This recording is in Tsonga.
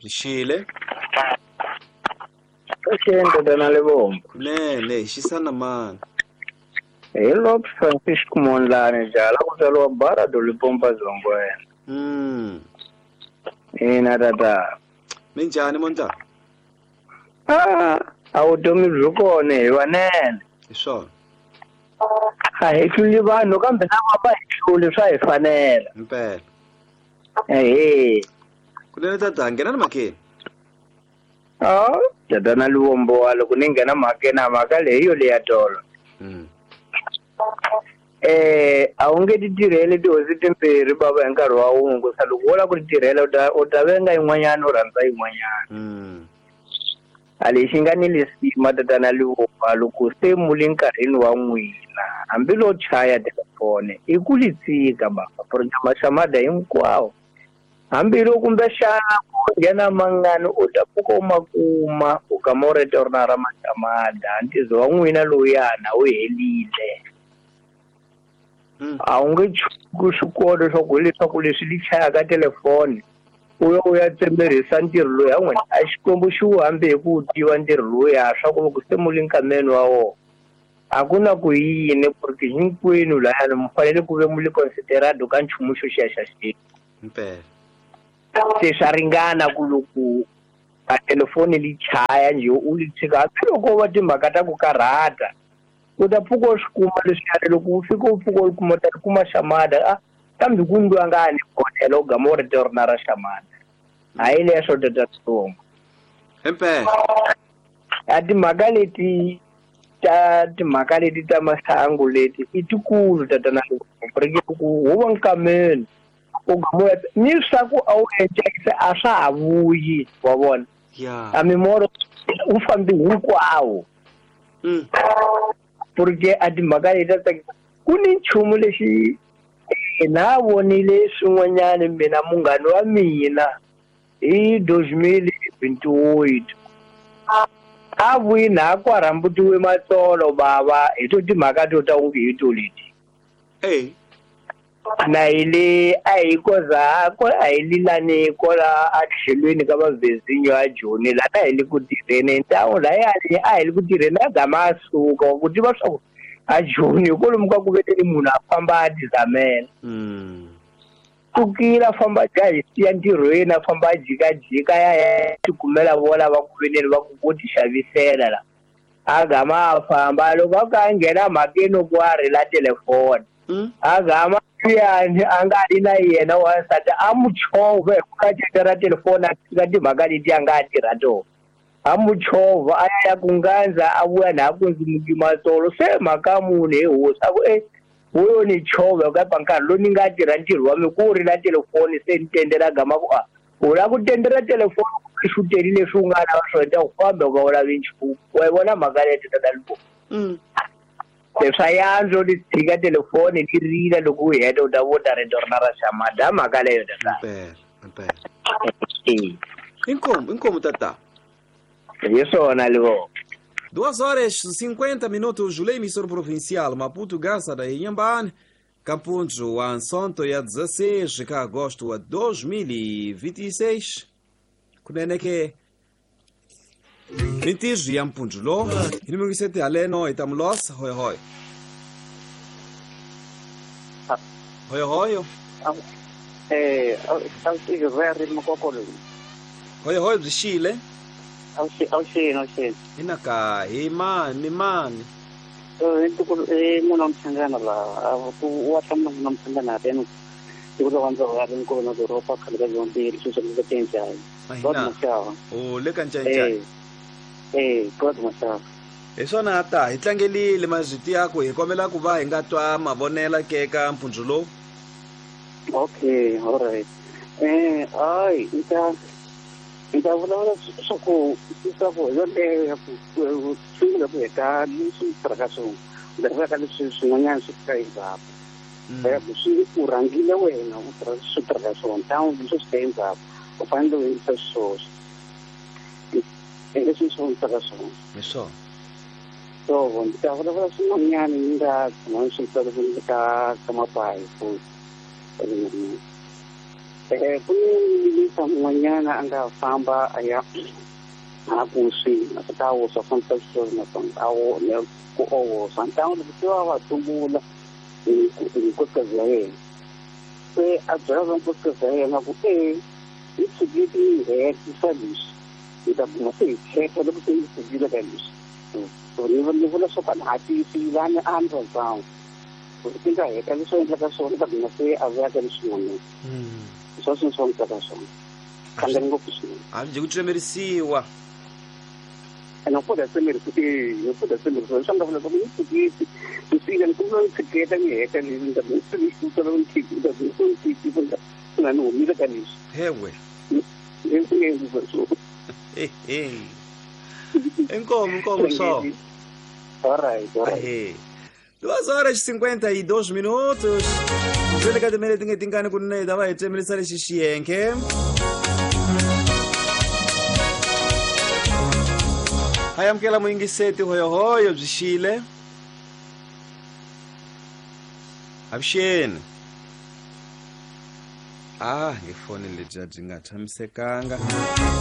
Rixile. Avuxeni tatana Lebombo. Kunene hi xisana mani. Hi Lop Francisco Mondlane jaha ku tswariwa Barado Lipompa Zongwena. Ina tata. Minjhani Mondlane? Ah, a vutomi byi kona hi vanene. Hi swona. A hi tluli vanhu kambe na va va hi tluli swa hi fanela. Impela. Ehe. Kunene tata nghena ni mhakeni. Ah, tatana Luvombo wa loko ni nghena mhakeni a mhaka leyi yo leya tolo. A wu nge ti tirheli tihosi timbirhi bava hi nkarhi wa wun'we ku sa loko wo lava ku ti tirhela u ta venga yin'wanyana u rhandza yin'wanyana. A lexi nga ni lisima tatana Luvombo loko se mu le nkarhini wa n'wina hambi lo chaya telefoni i ku li tshika baba maxamada hinkwawo. Hambi loko kumbexana ku nghena mangani u ta pfuka u ma kuma u gama u rito rona ra maxamada ntizo wa n'wina lowuyana wu helile. A wu nge chuki swikolo leswaku hileswaku leswi li chayaka telefoni u ya u ya tsemerisa ntirho lowu ya n'wina a Xikwembu xi wu hambi hi ku wu tiva ntirho lowuya swa ku loko se mu le nkameni wa wona a ku na ku yini ku ri hinkwenu layani mi fanele ku ve mu le considerado ka nchumu xo xiya xa xilo. Impela. Se swa ringana ku loko a telefoni li chaya njhe u li tshika hambiloko va timhaka ta ku karhata u ta pfuka u swi kuma leswiyani loko u fika u pfuka u kuma u ta kuma xamada a kambe ku ndliwa nga ni bodela u gama u ri rona ra xamada hayi leswo tata Tsongo. Impela. A timhaka leti ta timhaka leti ta masangu leti i tikulu tatana Luvombo ku wo va nkameni u gama ni swa ku a wu encekise a swa ha vuyi wa vona. A mimoro wu fambi hinkwawo. Porque a timhaka leti ta tsakisa ku ni nchumu lexi na vonile swin'wanyana mina munghana wa mina hi 2028 a vuyi na ku rhambutiwe matsolo bava hi to timhaka to ta unge hi to leti. Na hi le a hi koza ko a hi lilani kola a tlhelweni ka vavezinyo ya Joni la a hi le ku tirheni ntawu layani a hi le ku tirheni a gama a suka ku tiva swa ku a Joni kwalomu ka ku veteni munhu a famba a tizamela. Sukile a famba ja hi siya ntirhweni a famba a jikajika ya tikumela vona va ku veneni va ku vo ti xavisela la. A gama a famba loko a ka a nghena mhakeni ku a rila telefoni. A gama yani a nga ri na yena wansati a mu chovha hi ku ka ra telefoni a tshika timhaka leti a nga tirha tona. A mu chovha a ya ku ngandza a vuya na ku ndzi muki matsolo se mhaka munhu hi hosi a ku wo ni chovha ka nkarhi lowu ni nga tirha ntirho wa mina ku rila telefoni se ni tendela gama ku a u lava ku tendela telefoni ku xuteli leswi u nga lava swona ta ku famba u nga u lavi nchumu wa yi vona mhaka leyi tata Luvombo. Leswa yandzo li tshika telefoni li rila loko u heta u ta vona rito rona ra xamada mhaka leyo tata. Impela. Inkomo inkomo tata. Hi swona Luvombo. 2h50, Lei emissora provincial Maputo, Gaza da Inhambane, Campunjo, Ansonto, ya 16 de agosto de 2026. Kunene ke Mintijo ya Mpunjulo, inimigo sete aleno itamulos, hoi hoi. Hoi hoi. Hoi hoi bishile. Awuxini. Inaka hi mani mani. Munhu wa Mchangana la ku wa hlamula munhu wa Mchangana tenu ku lo wanza wa ri ko na doroba khale ka zombili swi swi tsenjani. O le ka nchanchani. God Mashava. Hi swona ta hi tlangelile mazwiti yako hi kombela ku va hi nga twa mavonela ke ka mpfundzu lowu. Okay, all right. Ai nta vulavula swa ku yoleyo ya ku sungula ku heta leswi tirhaka swona ndzi ka leswi swin'wanyana swi fika endzhaku. Ya ku swi u rhangile wena u tirha swi tirhaka swona tawun leswi swi ta endzhaku u fanele u endlisa swoswo leswi swi tirhaka swona. Hi swona. So ndzi ta vulavula swin'wanyana ni nga tshama swi tolovele ka mapayi futhi. Ku ni minista mun'wanyana a nga famba a ya a ku swi a ta woswa fambisa switori naswona a wo ku owoswa ntangu loko se va va tumbula hi nkosikazi ya yena se a byela va nkosikazi ya yena ku e yi tshikile yi hetisa leswi hi ta guma se hi khetha loko se yi tshikile ka leswi ni vula swo ka ha tiyisi vani a ni rhandzanga ti nga heta leswi endlaka swona ta guma se a vuya ka leswin'wanyana swa swilo swa n'wi swona hlangani ngopfu swinene a byi ku tsemerisiwa ene u tsemerisiwa e u tsemerisiwa leswi nga vula ku ni tshiketi ni fika ni kuma ni tshiketa ni heta ni ni ni ni ni humile ka leswi hewe ni inkomo inkomo só. All right, all right. 2h52 minutos. Zvele ka timele tinge tingani kunene hi ta va hi tsemelisa lexi xiyenke. Hi amukela muyingiseti hoyohoyo byi xile. Avuxeni. Ah, ngifoni lebyi byi nga tshamisekanga.